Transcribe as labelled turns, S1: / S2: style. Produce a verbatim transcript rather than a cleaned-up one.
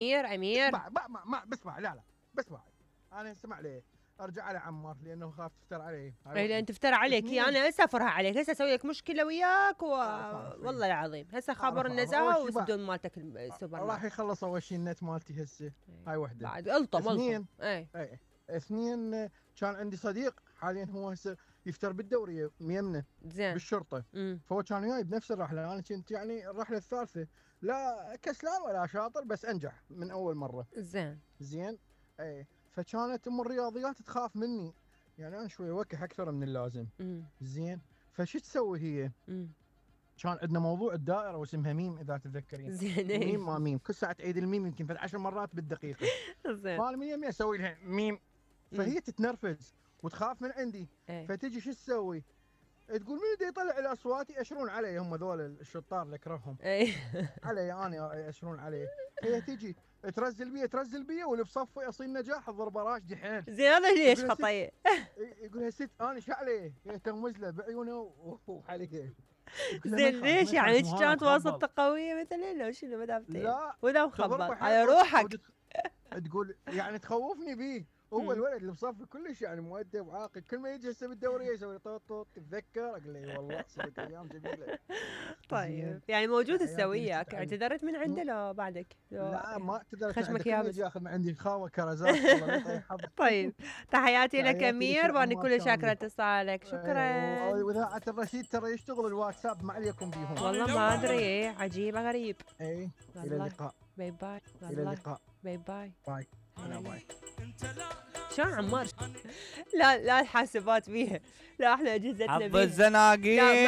S1: امير امير
S2: اسمع ما ما ما بسمع لا لا بسمع. انا اسمع ليه ارجع على عمار لانه خاف تفتر عليه.
S1: اي لان تفتر عليك يا انا هسه افرها عليك هسه اسوي لك مشكله وياك و... والله العظيم هسه خابر النزاهه والسدون مالتك السوبر
S2: راح يخلص اول شيء النت مالتي هسه. هاي وحده
S1: بعد الطم
S2: اثنين
S1: اي
S2: اي اثنين كان عندي صديق حاليا هو هسه يفتر بالدوريه ميمنه
S1: زين
S2: بالشرطه.
S1: مم.
S2: فهو كان وياي بنفس الرحله. انا كنت يعني الرحله الثالثه لا كسلان ولا شاطر بس انجح من اول مره.
S1: زين
S2: زين اي فكانت ام الرياضيات تخاف مني يعني انا شوي وكح اكثر من اللازم.
S1: مم.
S2: زين فشو تسوي هي؟
S1: مم.
S2: كان عندنا موضوع الدائره واسمها ميم اذا تتذكرين.
S1: زين
S2: ميم ما ميم كل ساعه تعيد الميم يمكن في عشر مرات بالدقيقه.
S1: زين
S2: فانا من يمي اسوي لها ميم فهي تتنرفز وتخاف من عندي. فتجي شو تسوي؟ تقول منو دا يطلع الاصوات ياشرون علي هم ذول الشطار اللي اكرههم.
S1: اي
S2: علي انا ياشرون علي. هي تجي ترزل بي ترزل بي واللي بصفي اصيل نجاح الضربه راشدي حيل.
S1: زين هذا ليش خطيه؟
S2: يقول لها ست انا شو عليه؟ هي تغمز له بعيونه وحلقه.
S1: زين ليش يعني ايش كانت واسطه قويه مثلا لو شنو ما دام
S2: لا
S1: ولا مخبط على روحك.
S2: تقول يعني تخوفني بيه. هو الولد اللي بصفي كلش يعني مؤدب وعاقل. كل ما يجي هسه بالدوريه يسوي طوط طوط تتذكر اقول له والله صدق ايام جميله.
S1: طيب يعني موجود هسه وياك اعتذرت من عنده لو بعدك؟
S2: لا ما اعتذرت
S1: خشمك
S2: يا يجي ياخذ من عندي خاوه كرزات الله يطيح حظك.
S1: طيب تحياتي لك امير واني كل شاكره اتصالك. شكرا.
S2: واذاعه الرشيد ترى يشتغل الواتساب ما عليكم بيهم
S1: والله ما ادري عجيب غريب.
S2: اي الى اللقاء.
S1: باي باي.
S2: الى اللقاء.
S1: باي باي.
S2: باي انا باي.
S1: شلون عمار؟ لا لا الحاسبات بيها لا احنا اجهزتنا
S3: حظ
S1: بيها
S3: الزناقين.